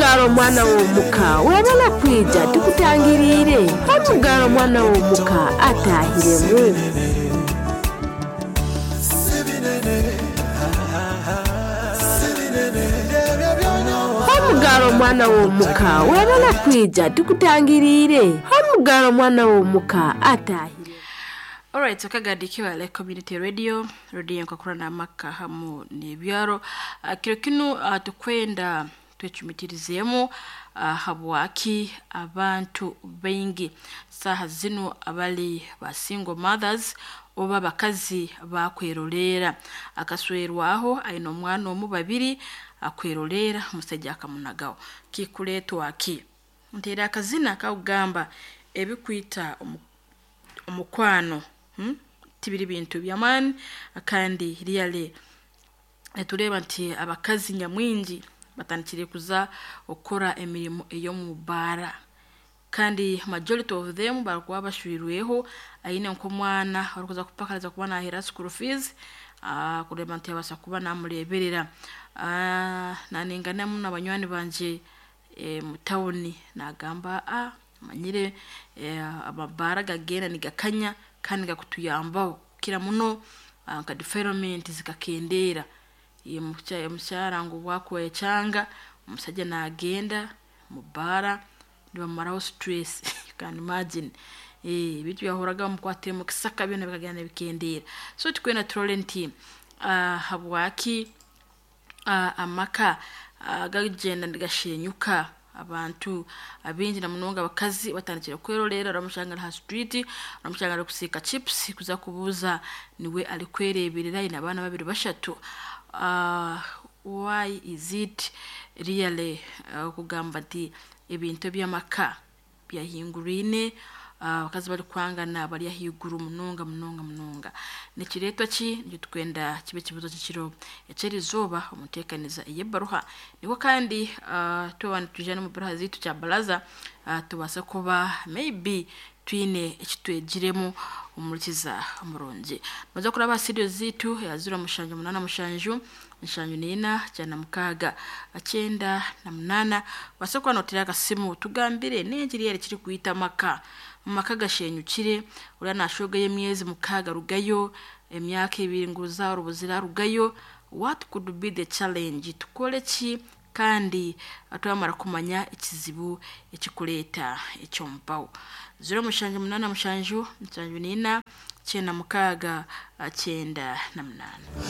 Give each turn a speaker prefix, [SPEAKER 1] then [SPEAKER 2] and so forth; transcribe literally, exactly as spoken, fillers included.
[SPEAKER 1] Omugaro omwana w'omuka webale kwija, tukutangiriire. Omugaro omwana w'omuka atahiremu. Omugaro omwana w'omuka webale kwija, tukutangiriire. Omugaro omwana w'omuka atahiremu.
[SPEAKER 2] Alright, akagadi Kibale Community Radio, radio nkakurana amaka hamu n'ebyaro. Uh, kiro kinu uh, tukwenda twecumitirizeemu uh, habwaki abantu baingi saaha zinu abali ba single mothers oba abakazi bakweroleera. Akaswerwaho aine omwana omu babiri, akweroleera omusaija akamunagaho. Kikuleetwa ki? Nteera akazina kakugamba ebikwita omu omukwano, hmm? Tibiri bintu by'amaani, kandi really nitureeba nti abakazi nyamwingi batandikire kuza okukora emirimo ey'omu baara, kandi majority of them barikuba bashwirweho, aine nk'omwana orikuza kupakariza kuba naheera school fees, uh, kureeba nti yabaasa kuba namureeberera. uh, naninganamu na banywani bangye e, mu tawuni, nagamba ah, manyire eh, amabaara gagenda nigakanya kandi gakutuyambaho kukira muno, uh, nka defilement zikakendeera. Omukyara ngu bwakwecanga omusajja nagenda mu baara nibamaraho stress. You can imagine, eh, ebintu byahoraga bamukwatire mu kisaka byona bikagenda nibikendeera. So tukwenda turole nti uh, habwaki uh, amaka uh, gagenda nigashenyuka. Abantu abingi na munonga abakazi batandikire kwerorera, oramushanga ari ha street, oramushanga ari kusiika chips kuza kubuuza niwe ari kwereberera, aine abaana babiri bashatu. uh, why is it really uh, kugamba nti ebintu eby'amaka byahingurine, abakazi uh, bari kwangana bari ahaiguru munonga munonga munonga? Nikireetwa ki? Nikyo tukwenda kibe ekibuzo ky'ekiro eky'erizooba omuteekaniza ey'ebaruha. Nibwo kandi uh, tuba nitwija n'omu baruha zaitu kya baraza, uh, tubaase kuba maybe twine ekitwegiremu omurikiza omurungi. Noza kuraba aha studio zaitu ya ziro mushanju munaana mushanju nshanju niina kyenda mukaaga kyenda na munaana, obaase kuba nootera akasimu tugambire n'engiri eri kiri kwita amaka. Amaka gashenyukire, oriya nashogayo emyezi mukaaga arugayo, emyaka ebiri ngu oruzaaro rubuzire arugayo. What could be the challenge? Tukore ki? Kandi twamara kumanya ekizibu ekikureeta ekyomubaho, ziro mushanju munaana mushanju nshanju niina kyenda mukaaga kyenda na munaana.